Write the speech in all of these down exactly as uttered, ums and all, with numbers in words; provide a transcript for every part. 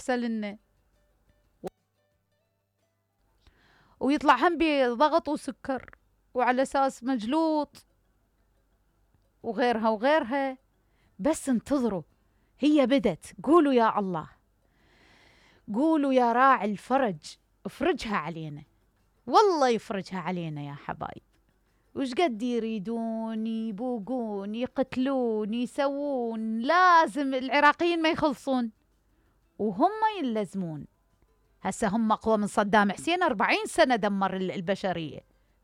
يرسل لنا، ويطلع هم بضغط وسكر وعلى أساس مجلوط وغيرها وغيرها. بس انتظروا، هي بدت. قولوا يا الله، قولوا يا راعي الفرج افرجها علينا، والله يفرجها علينا يا حبايب. وش قد يريدون يبوقون يقتلون يسوون، لازم العراقيين ما يخلصون وهم يلزمون. هسه هم أقوى من صدام حسين، أربعين سنة دمر البشرية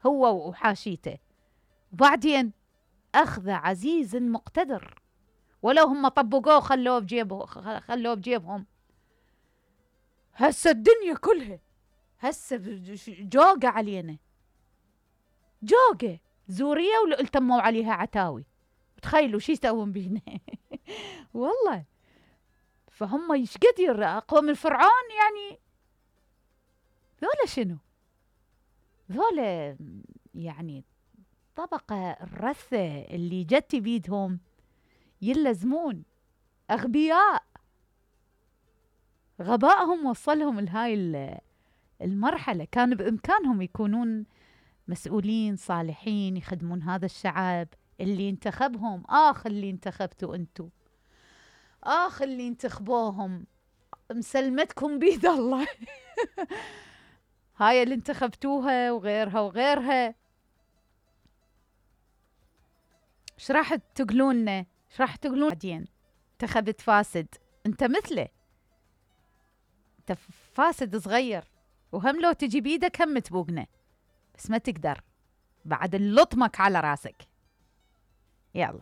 هو وحاشيته. وبعدين أخذ عزيز مقتدر، ولو هم طبقوه خلوه بجيبه خلوه بجيبهم. هسه الدنيا كلها هسه جوقة علينا، جوقة زورية والتموا عليها عتاوي. تخيلوا شي يسوون بينا والله. فهم ايش قد اقوى من فرعون يعني. ذولا شنو؟ ذولا يعني طبقة الرثة اللي جت بيدهم يلزمون، أغبياء. غبائهم وصلهم لهاي المرحلة. كان بإمكانهم يكونون مسؤولين صالحين يخدمون هذا الشعب اللي انتخبهم. آخ اللي انتخبتوا أنتوا، آخ اللي انتخبوهم، مسلمتكم بيد الله هاي اللي انتخبتوها وغيرها وغيرها. ايش راح تقولوننا؟ ايش راح تقولون بعدين؟ انتخبت فاسد. انت مثله، انت فاسد صغير، وهم لو تجي بيدك هم تبوقنا، بس ما تقدر بعد اللطمك على راسك. يلا.